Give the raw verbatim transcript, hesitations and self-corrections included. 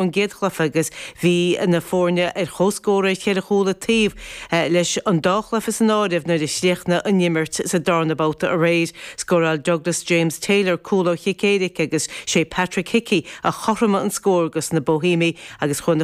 an gcéad chluiche agus bhí na foirne ar comhscór ar cheithre chúl an taobh leis an dá chluiche san áireamh nuair a chríochnaigh an imirt sa darna babhta aréir. Scóráil Douglas James Taylor cúl ó chic éirice agus sé Patrick Hickey a chothromaigh an scór dos na Bohemiaigh agus chuaigh na